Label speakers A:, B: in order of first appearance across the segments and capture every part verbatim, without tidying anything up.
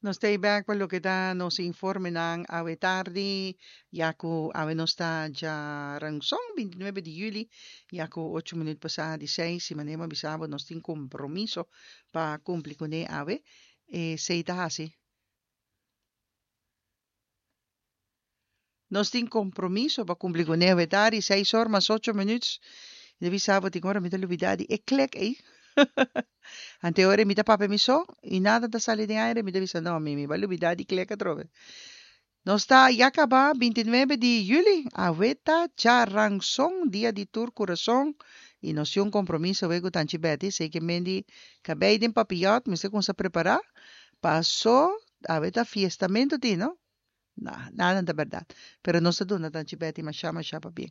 A: Nos ta bek pa loke ta nos informenan awe tardi, ya ku awe nos ta djaranson, bintinuebe di yüli, ya ku ocho minüt pasá di seis, i manera mi a bisa bo nos tin kompromiso pa kumpli kuné awe. Esei ta hasi. Nos tin kompromiso pa kumpli kuné awe tardi, seis or mas ocho minüt. Mi ta bisa bo tin ora mi ta lubidá di e klek ei. Ante ora mi ta papia mi so i nada ta sali den aire, mi ta bisa no, mi mi bai lubidá di klek atrobe. Nos ta ya kaba binti nuebe di yüli, awe ta djaranson, dia di tur kurason, i nos tin un kompromiso awe ku Tanchi Betty, esei ke men di kabei den papiyòt mester kumsa prepará, paso awe ta fiestamentu tin, no? Na, nada ta bèrdat. Pero nos ta duna Tanchi Betty mashá mashá pabien.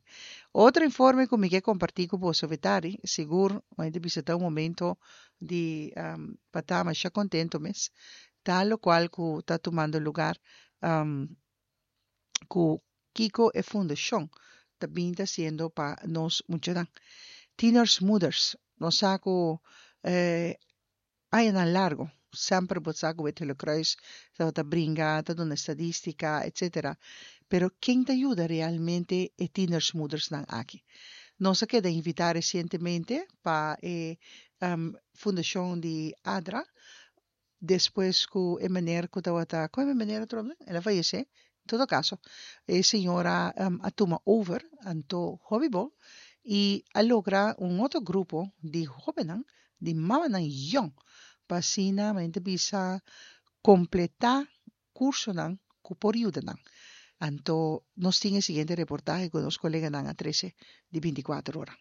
A: Otro informe ku mi ke kompartí ku boso Betari, sigur mi ta bisa ta un momento di pa ta mashá kontento mes, ta lokual ku ta tumando lugar ku kiko e fundashon ta bin ta hasiendo pa nos muchanan. Tieners Moeders, nos sa ku Añanan largo, semper bo sa cu Wit Gele Kruis tabata bringa, ta duna estadistica, etcetera. Pero ken ta yuda realmente e tienersmoedersnan aki? Nos a keda invita recientemente pa e fundacion di ADRA, despues cu e meneer cu tabata, con e meneer atrobe? El a fayece. En todo caso, e señora a tuma over, anto hopi bo, y a logra un otro grupo di hobennan di mamanan yòn pa asina men ta bisa kompletá kursonan ku por yuda nan. Anto nos tin e siguiente reportahe ku nos koleganan a trese di binti kuater ora.